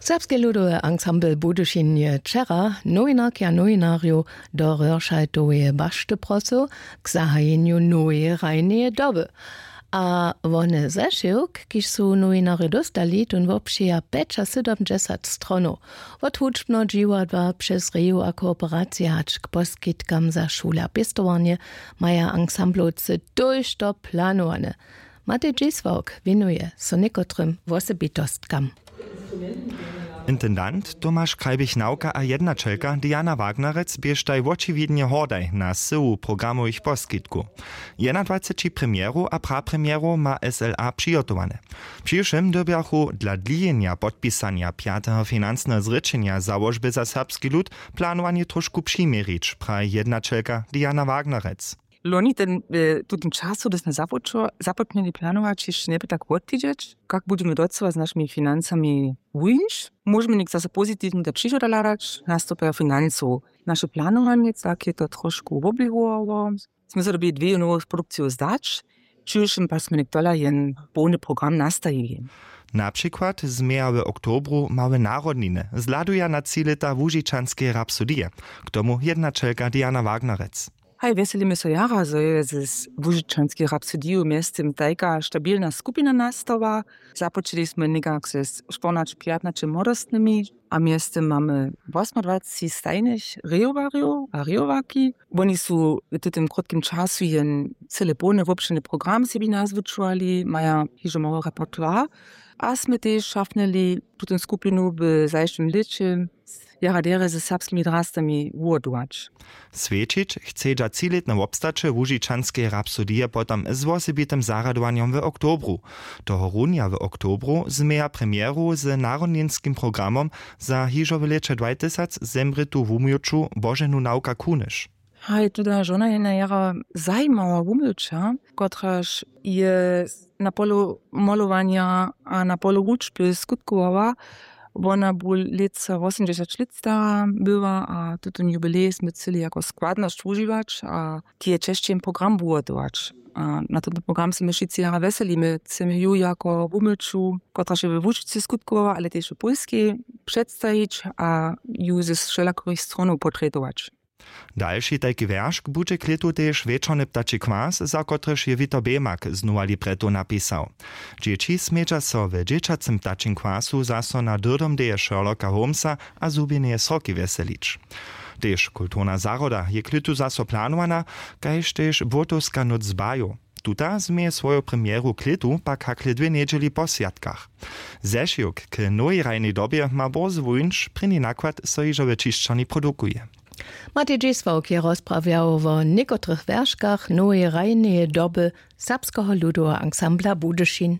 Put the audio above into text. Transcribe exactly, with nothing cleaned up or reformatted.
Serbski ludowy ansambl Budyšin je wčera nowinarki a nowinarjow do Røršaltoweje bašty prosył k zahajenju noweje hrajneje doby. A wone zešiwk, kiž su nowinarjo dóstali, tón wobpřija pjećasydomdźesat stronow, wot hudźbneho dźiwadła přez reju a kooperacije hač k poskitkam za šule a pěstowarnje, maja ansamblowcy tójšto planowane. Matej Dźisławk wěnuje so někotrym wosebitostkam. Intendant Tomaš Krajbich-Nawka a jednaćelka Diana Wagnerec běštaj wočiwidnje hordaj na syłu programowych poskitkow. Jednadwaceći premjerow a prapremjerow ma S L A přihotowane. Přiwšěm dyrbjachu dla dlijenja podpisanja pjateho financneho zrěčenja załožby za serbski lud planowanje trošku přiměrić, praji jednaćelka Diana Wagnerec. Loni ten, w tutym času, hdy smy započo-, započnili planować, hišće njeby tak wotwidźeć, kak budźemy docyła z našimi financami wuńć. Móžemy něk zaso pozitiwnje do přichoda hladać, nastupajo financow. Naše planowanje, tak je to trošku woběhowało. Smy so dyrbili dwě nowu produkciju zdać, přiwšěm pak smy něk tola jen połny program nastajili. Na přikład změja w oktobru małe narodniny, zhladuja na tři lěta łužičanskeje rapsodije, k tomu jednaćelka Diana Wagnerec. Haj, wjeselimy so jara, zo je z łužičanskej rapsodiju mjeztym tajka stabilna skupina nastała. Započeli smy někak ze štyrnaće pjatnaće młodostnymi a mjeztym mamy wosmadwaceći stajnych rejowarjow a rejowarki. Woni su w tutym krótkim času jen cyle połny wobšěrny program sebi nazwučowali, maja hižo mały repertoire. A smy tež šafnili tutym skupinu w zašłym lěće jara derje ze serbskimi drastami wuhotować. Swjećić chcedźa třilětne wobstaće łužičanskeje rapsodije potom z wosebitym zarjadowanjom w oktobru. Tohorunja w oktobru změja premjeru z narodninskim programom za hižo w lěće dwajtysac zemrětu wumjoću Boženu Nawka Kunyš. Haj, tuda žona je na jara zajimała wumjoća, kotraž je na polu molowanja a na polu wučby skutkowała. Wona bu lětsa wosomdźesać lět stara była a tutón jubilej smy chceli jako składnosć wužiwać a k jeje česći jen program wuhotować. A na tón program se my wšitcy jara wjeselimy. Chcemy ju jako wumyću, kotraž je we Łužicy skutkowała, ale tež w Pólskej předstajić a ju ze wšelakorych stronow potrjetować. Dalši tajki wjeršk budźe k lětu tež wječorny ptači kwas, za kotryž je Wito Bemak znowa libreto napisał. Dźěći smědźa so w dźěćacym ptačim kwasu zaso na dyrdomdeje Sherlocka Holmesa a zhubjeneje sroki wjeselić. Tež kulturna zahroda je k lětu zaso planowana, kaž tež błotowska nóc zbajow. Tuta změje swoju premjeru k lětu pak hakle dwě njedźeli po swjatkach. Zešiwk k nowej hrajnej dobje ma bórze wuńć, prěni nakład so hižo w ćišćarni produkuje. Matej Dźisławk je rozprawjał wo někotrych wjerškach noweje hrajneje doby serbskeho ludoweho ansambla Budyšin.